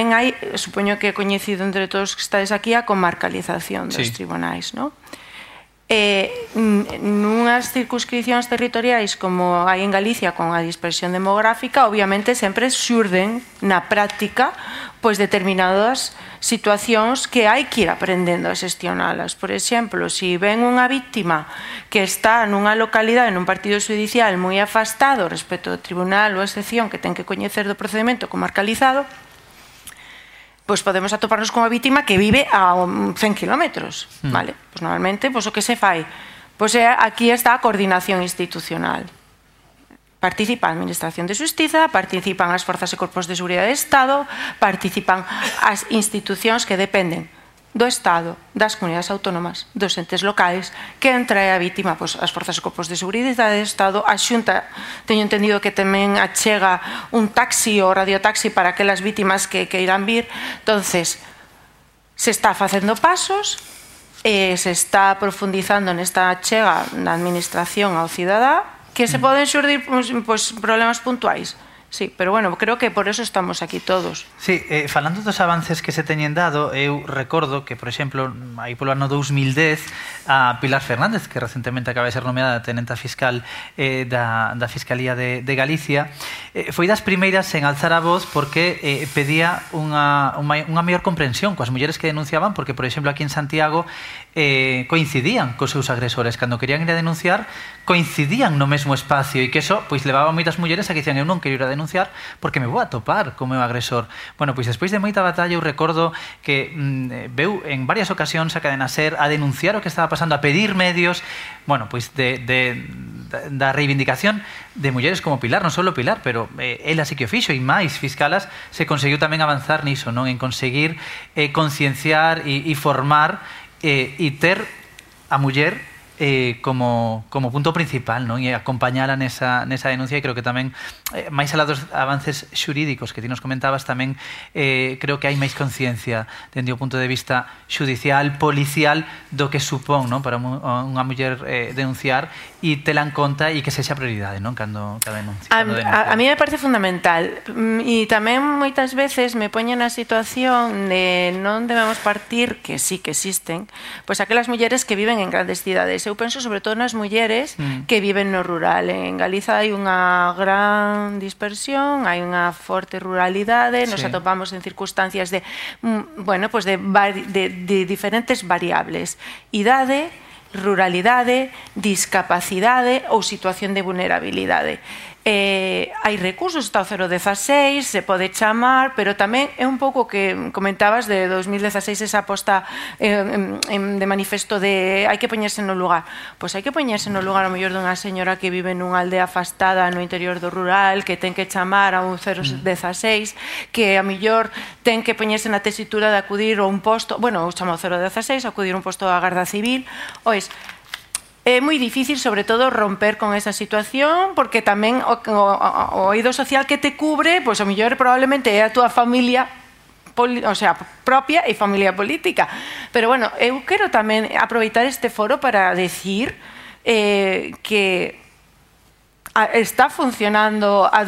tamén hai, supoño que é coñecido entre todos que estades aquí, a comarcalización dos tribunais, non? Nunhas circunscripcións territoriais como hai en Galicia con a dispersión demográfica, obviamente sempre xurden na práctica pois determinadas situacións que hai que ir aprendendo a xestionalas. Por exemplo, se ven unha víctima que está nunha localidade, nun partido judicial moi afastado respecto ao tribunal ou a excepción que ten que coñecer do procedimento comarcalizado, pois podemos atoparnos con unha vítima que vive a 100 kilómetros, vale? Pois normalmente, pois o que se fai? Pois aquí está a coordinación institucional. Participa a Administración de Xustiza, participan as forzas e corpos de seguridade do Estado, participan as institucións que dependen do Estado, das comunidades autónomas, dos entes locais, que entra a vítima, pois as forzas e corpos de seguridade do Estado, a Xunta, teño entendido que tamén achega un taxi ou radiotaxi para aquelas vítimas que irán vir. Entonces, se está facendo pasos, se está profundizando nesta achega da administración ao cidadá, que se poden xurdir problemas puntuais. Sí, pero bueno, creo que por eso estamos aquí todos. Sí, falando dos avances que se teñen dado, eu recordo que, por exemplo, aí polo ano 2010, a Pilar Fernández, que recentemente acaba de ser nomeada tenenta fiscal da Fiscalía de Galicia, foi das primeiras en alzar a voz porque pedía unha maior comprensión coas mulleres que denunciaban, porque, por exemplo, aquí en Santiago coincidían cos seus agresores. Cando querían ir a denunciar, coincidían no mesmo espacio, e que eso pois levaba a moitas mulleres a que dicían: eu non quero ir a denunciar porque me vou a topar co meu agresor. Bueno, pois despois de moita batalla eu recordo que veu en varias ocasións a Cadena Ser a denunciar o que estaba pasando, a pedir medios, bueno, pois da reivindicación de mulleres como Pilar, non só Pilar, pero ela sí que o fixo, e máis fiscalas se conseguiu tamén avanzar niso, non? En conseguir concienciar e formar e ter a muller como punto principal, non? E acompañala nesa denuncia, e creo que tamén máis alá dos avances xurídicos que ti nos comentabas, tamén creo que hai máis conciencia dende o punto de vista xudicial, policial, do que supón, non? Para unha muller denunciar e tela en conta e que sexa prioridade, non? Cando denuncia. A mí me parece fundamental, e tamén moitas veces me poñen na situación de non debemos partir, que sí que existen, pois aquelas mulleres que viven en grandes cidades. Eu penso sobre todo nas mulleres que viven no rural. En Galiza hai unha gran dispersión, hai unha forte ruralidade, nos atopamos en circunstancias de diferentes variables: idade, ruralidade, discapacidade ou situación de vulnerabilidade. Hai recursos, está o 016, se pode chamar, pero tamén é un pouco que comentabas de 2016, esa aposta de manifesto de hai que poñerse no lugar. Pois hai que poñerse no lugar ao mellor dunha señora que vive nunha aldea afastada no interior do rural, que ten que chamar a un 016, que a mellor ten que poñerse na tesitura de acudir a un posto, bueno, eu chamo ao 016, acudir a un posto da Garda Civil. Ois, é moi difícil, sobre todo, romper con esa situación, porque tamén o eido social que te cubre, pois o mellor probablemente é a túa familia, o sea, propia e familia política. Pero, bueno, eu quero tamén aproveitar este foro para decir que está funcionando as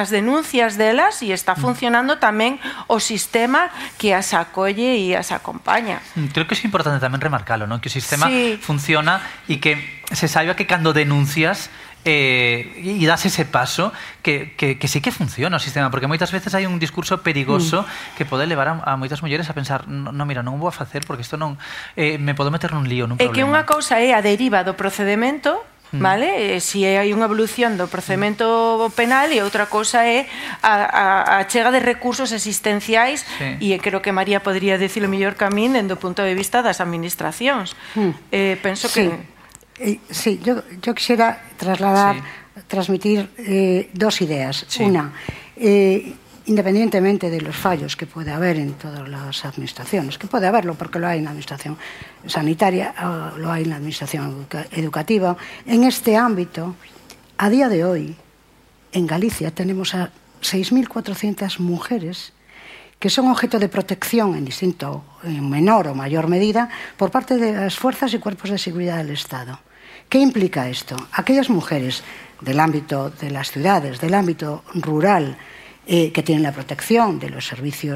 denuncias delas, e está funcionando tamén o sistema que as acolle e as acompaña. Creo que é importante tamén remarcalo, non? Que o sistema funciona e que se saiba que cando denuncias e das ese paso que sí que funciona o sistema, porque moitas veces hai un discurso perigoso que pode levar a moitas mulleres a pensar: no, mira, non vou a facer porque isto non me podo meter nun lío, nun problema. É que unha cousa é a deriva do procedemento, vale? Si hai unha evolución do procedimento penal, e outra cousa é a chega de recursos existenciais, e creo que María podría dicilo mellor que a min dende o punto de vista das administracións. Penso que... Sí, yo quisiera transmitir dos ideas. Una, independientemente de los fallos que puede haber en todas las administraciones, que puede haberlo porque lo hay en la administración sanitaria, lo hay en la administración educativa, en este ámbito, a día de hoy, en Galicia tenemos a 6.400 mujeres que son objeto de protección en menor o mayor medida por parte de las fuerzas y cuerpos de seguridad del Estado. ¿Qué implica esto? Aquellas mujeres del ámbito de las ciudades, del ámbito rural, que tienen la protección de los servicios